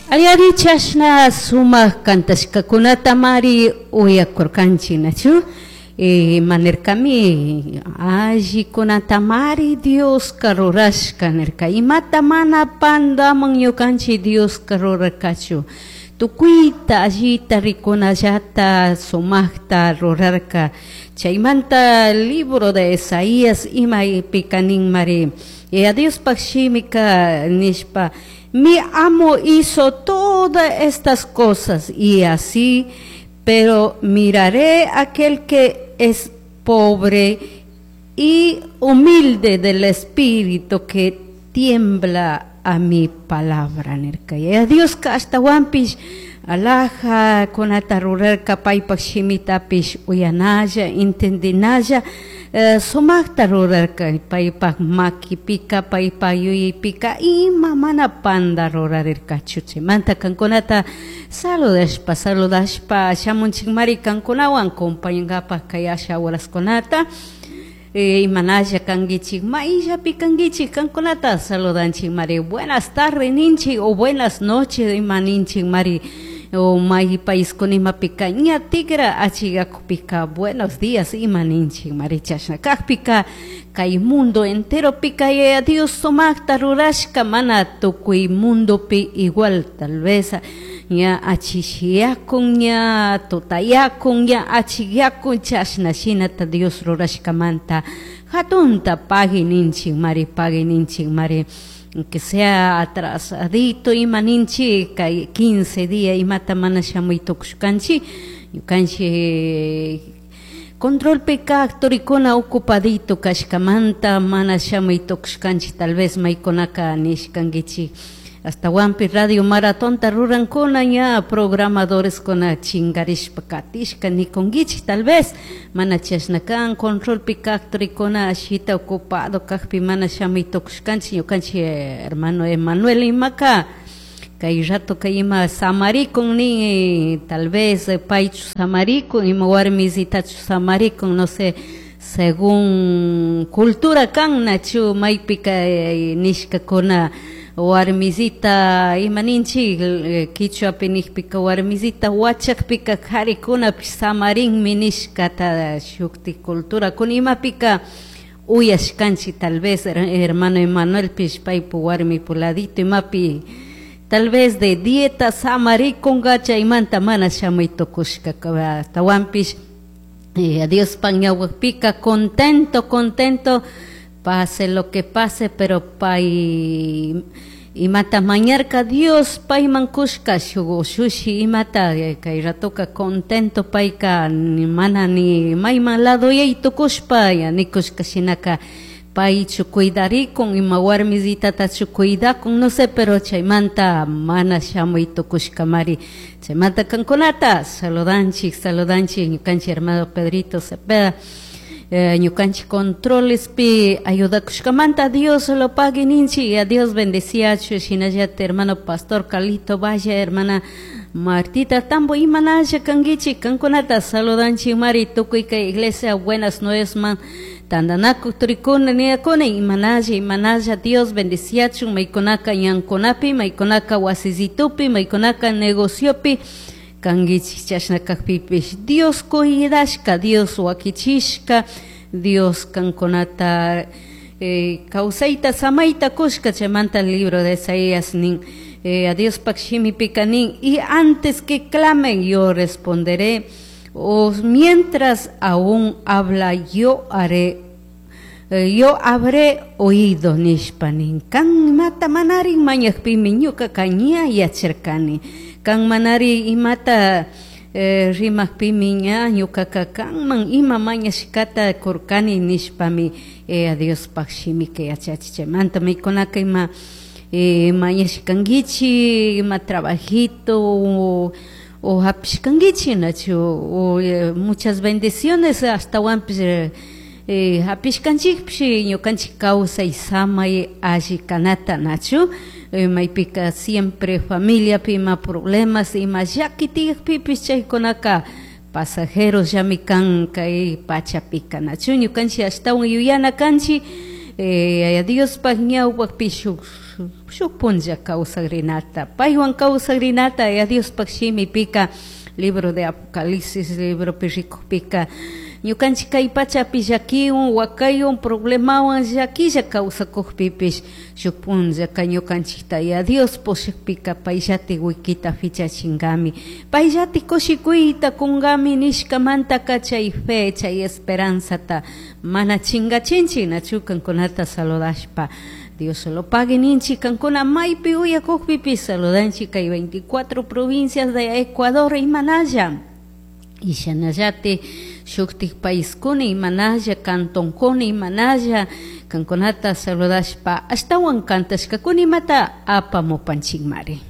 Ayari chashna sumak kantashkakunatamari uyakurkanchik nachu ima nirkami allikunatamari Dioska rurashka nirka imata mana pandaman ñukanchik Dioska rurarkachu tukuyta allita rikunallata sumakta rurarka chaymanta libro de Isaías imaypika ninmari Yaya Diospaj shimika nishpa mi amo hizo todas estas cosas y así, pero miraré aquel que es pobre y humilde del espíritu que tiembla a mi palabra nirka. Yaya Dioska ashtawanpish alhajakunata rurarka paypak shimitapish uyanalla entendinalla sumakta rurarka paypak makipika paypak yuyaypika ima mana panda rurarirkachu chaymanta kankunata saludashpa saludashpa shamunchikmari kankunawan compañankapak kay asha horaskunata imanalla kankichik mayllapi kankichik kankunata saludanchik mari buenas tardes ninchik o buenas noches ima ninchik mari o may paiskuna imapika ña tigra achikakupika buenos días ima ninchik mari chashna kakpika kay mundo enteropika Yaya Dios sumakta rurashka mana tukuy mundopi igual tal vez ña achishiyakun ña tutayakun ña achikyakun chashna shinata Dios rurashkamanta hatunta pagui ninchik mari pagui ninchik mari aunque sea atrasadito ima ninchik kay 15 día imata mana shamuy tukushkanchik ñukanchik controlpi kak turikuna ocupadito kashkamanta mana shamuy tukushkanchik tal vez maykunaka nishkankichik Ashtawanpi radio maratonta rurankuna ña programadoreskuna chingarishpa katishka nikunkichik tal vez mana chashna kan controlpi kak turikuna ashita ocupado kakpi mana shamuy tukushkanchik ñukanchik hermano Emanuel imaka kay rato kay ima samarikun nin tal vez paychu samarikun ima warmisitachu samarikun no sé según cultura kan nachu maypika nishkakuna warmisita ima ninchik kichwapi nikpika warmisita wachakpika karikunapish samarinmi nishkata shuktik culturakuna imapika uyashkanchik tal vez hermano Emanuelpish paypu warmipu ladito imapi tal vez de dieta samarikunka chaymanta mana shamuy tukushka ashtawanpish Diospak ñawpakpika contento contento pase lo que pase pero pay imata mañarka Dios payman kushka shuk ushushi imata kay ratoka contento payka mana ni mayman ladoyay tukushpa nikushka shinaka paychu cuidarikun ima warmisitatachu cuidakun no sé pero chaymanta mana shamuy tukushkamari chaymanta kankunata saludanchik saludanchik ñukanchik hermano Pedrito Cepeda ñukanchik controlespi ayudakushkamanta Dios lo pague ninchik y a Dios bendeciachu shinallata hermano pastor Carlito Valle hermana Martita Tambo imanalla kankichik kankunata saludanchik mari tukuy kay iglesia buenas nuevas man tandanakuk turikuna niyakuna imanalla imanalla Dios bendeciachun maykunaka ñankunapi maykunaka wasisitupi maykunaka negociopi kankichik chashna kakpipish Dios cuidashka Dios wakichishka Dios kankunata kawsayta samayta kushka chaymanta libro de Isaías nin a Diospak shimipika nin y antes que clamen yo responderé o mientras aún habla yo haré yo habré oído nishpa nin kan imata manari mañakpimi ñukaka ña yacharkani kan manari imata rimakpimi ña ñukaka kanman ima mañashkata kurkani nishpami Diospaj shimika yachachi chaymanta maykunaka ima mañashkankichik ima trabajito o hapishkankichik nachu o muchas bendiciones ashtawanpish hapishkanchikpish ñukanchik kawsay samay alli kanata nachu maypika siempre familiapi ima problemas ima llaki tiyakpipish chaykunaka pasajeros llami kan kay pachapika nachu ñukanchik ashtawan yuyana kanchik Yaya Diospaj ñawpakpi shuk Shuk punlla kawsakrinata, paywan kawsakrinata. Ya Diospaj shimipika, libro de Apocalipsis libropi rikukpika, ñukanchik kay pachapi llakiwan, wakaywan, problemawan llaquilla kawsakukpipish, shuk punllaka ñukanchikta ya Dios pushakpika payllati wikita fichachingami, payllati kushikuyta kungami nishkamantaka chay fe, chay esperanzata mana chingachinchik. Nachu kankunata saludashpa Dios lo pague ninchik. Kankuna maypi uyakukpipish saludanchik kay 24 provincias de Ecuador imanalla, ishanallati shuktik paiskuna imanalla, cantonkuna imanalla, kankunata saludashpa ashtawan kantashkakuna imata apamupanchikmari.